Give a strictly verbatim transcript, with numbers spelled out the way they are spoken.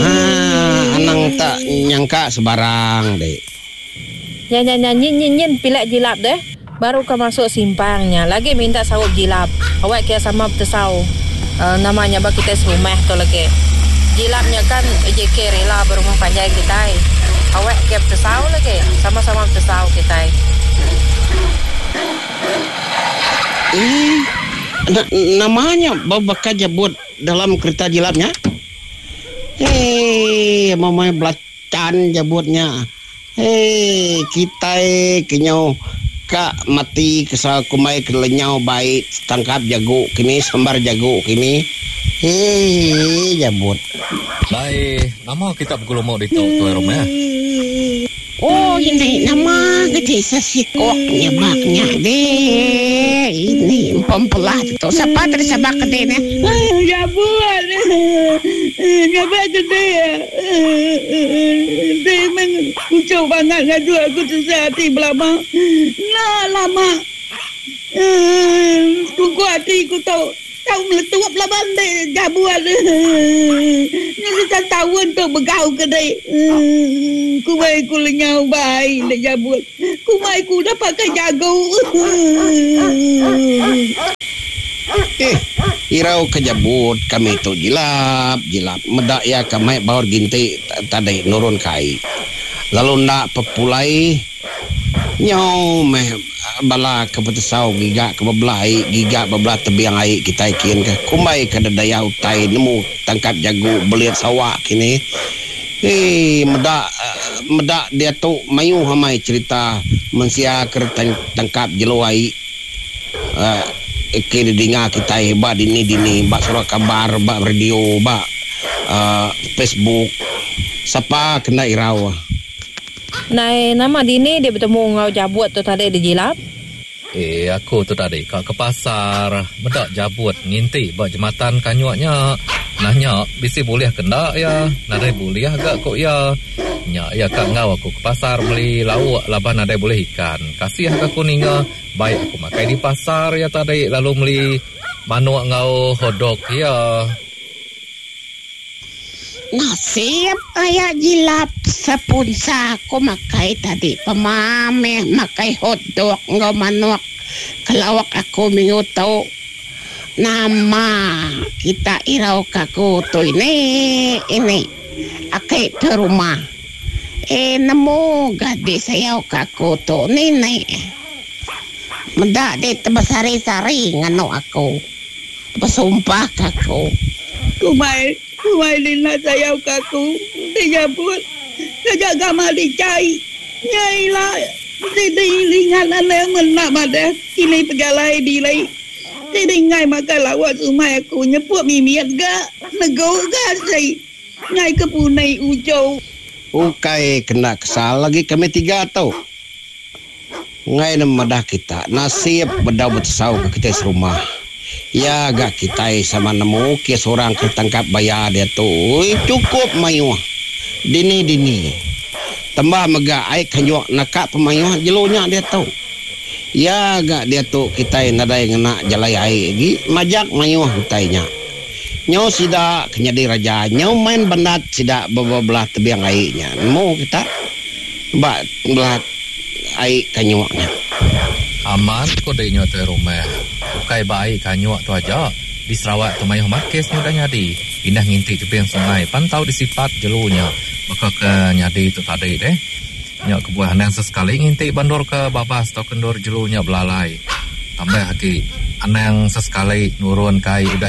Haa anang tak nyangka sebarang dek. Nya nya nya nyin nyin nyin pilek jilap deh. Baru ka masuk simpang nya lagi minta saup jilap. Awak kia sama betesau nama nya ba kitai serumah tu lagi. Jilap nya kan A J K rela ba rumah panjai kitai. Awak kia betesau lagi. Sama-sama betesau kitai. Eeh nama nya baka jabut dalam kereta jilap nya? Eeh meh belacan jabut nya. Hei kitai ke nyau ka mati kesal kumbai ke lenyau bai tangkap jagu kini sambar jagu kini. Hei jabut. Dai nama kita begelumu ditu tuai rumah. Oh ini nama ke sesikok nyebak nya deh. Ini empempelah tu. Sapa tadi sabak ke deh nya? Jabut. Nyabak ke deh. Deh meng kuchau bangat ngaju aku tusah ati belama. Enda lama. Tungku ati ku tu. Tau meletup laban dek jabut. Nya seta taun tu begau ke dek. Kumai ku lenyau bai dek jabut. Kumai ku udah pakai jagu. Eh, irau ke jabut kami tu jilap jilap meda iya ke mai baur ginti tadi nurun ke ai. Lalu enda pepulai nyau meh bala ke betesau giga ke bebelah ai giga bebelah tebing ai kitai kin ke kumbai ke dedaya utai nemu tangkap jagu belit sawa kini. Hei meda meda diatu mayuh amai cherita mensia ke tangkap jelu ai ke didinga kitai ba dini dini ba surat khabar ba radio ba Facebook sapa kena irau. Nai nama dini dia betemu enggau jabut tu tadi dijilap? Eh aku tu tadi ka ke pasar meda jabut nginti ba jematan kanyuk nya. Nanya bisi bulih ke enda iya nadai bulih ga ku iya. Nya iya ka enggau aku ke pasar meli lauk laban nadai bulih ikan. Kasih ga aku ninga bai aku makai di pasar iya tadi lalu meli manuk enggau hotdog iya. Nasib aya jilap sepunsa aku makai tadi pema meh makai hotdog enggau manuk ke lauk aku minggu tu. Nama kita irau ka aku tu ini ini aki ke rumah. Eh nemu ga di sayau ka aku tu ni ni. Meda di tebesari-sari nganu aku. Besumpah ka aku. Kumai kumai lina sayau ka aku ti nyabut taja gamal dicai nya ila ti dilingan anang mena madah kini pejalai diri ti dingai makai lawa sumai aku nyeput mimit ga negu ga asi ngai ke punai ujo. Ukai kena kesal agi kami tiga tu. Ngai ne madah kita nasib bedau betesau ke kitai serumah. Iya ga kitai sama nemu kes orang ke tangkap baya diatu ui chukup mayuh dini-dini. Tambah mega ai kanyuk naka pemayuh jelu nya diatu. Iya ga diatu kitai nadai ngena jalai ai agi majak mayuh utai nya. Nyau sida ke nyadi raja nyau main bandat sida bebelah tebing ai nya nemu kita ba belah ai kanyuk nya. Amat ko dek nya tuai rumah. Ukai ba ai kanyuk tu aja. Di Sarawak tu mayuh amat kes nya udah nyadi. Indah nginti tebing sungai pan tau disipat jelu nya baka ke nyadi tu tadi deh. Nya kebuah anang sesekali nginti ba endur ke babas tauka endur jelu nya belalai. Tambah agi anang sesekali nurun ke ai udah